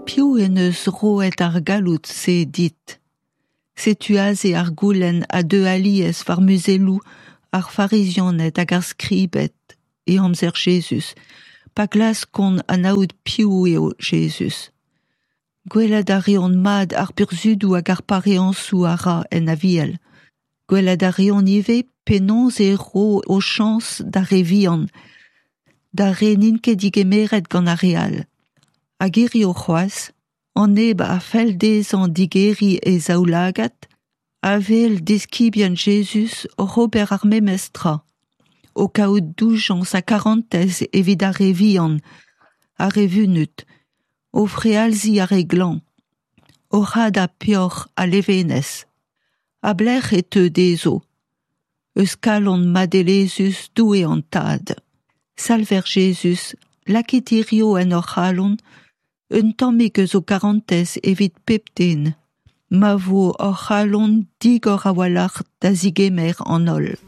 Piv en deus roet ar galloud-se dit ? Setu aze ar goulenn a deu alies war muzelloù ar Farizianed hag ar Skribed e amzer Jezuz, pa glaskont anaout piv eo Jezuz. Gwelet a reont mat ar burzhudoù hag ar pareañsoù a ra en Aviel. Gwelet a reont ivez penaos e ro o chañs d'ar re vihan, d'ar re n'int ket degemeret gant ar re all. Hag hiziv c'hoazh, an neb a fell dezhañ digeriñ e zaoulagad a wel diskibien Jezuz oc'h ober ar memes tra, o kaout doujañs ha karantez evit ar re vihan, ar re vunut, o frealziñ ar re glañv, oc'h hadañ peoc'h ha levenez. A-belec'h e teu dezho ? Eus kalon madelezhus Doue an Tad. Salver Jezuz, lakit hiziv en hor c'halon un tammig eus ho karantez evit pep den, ma vo hor c'halon digor a-walc'h da zegemer an holl.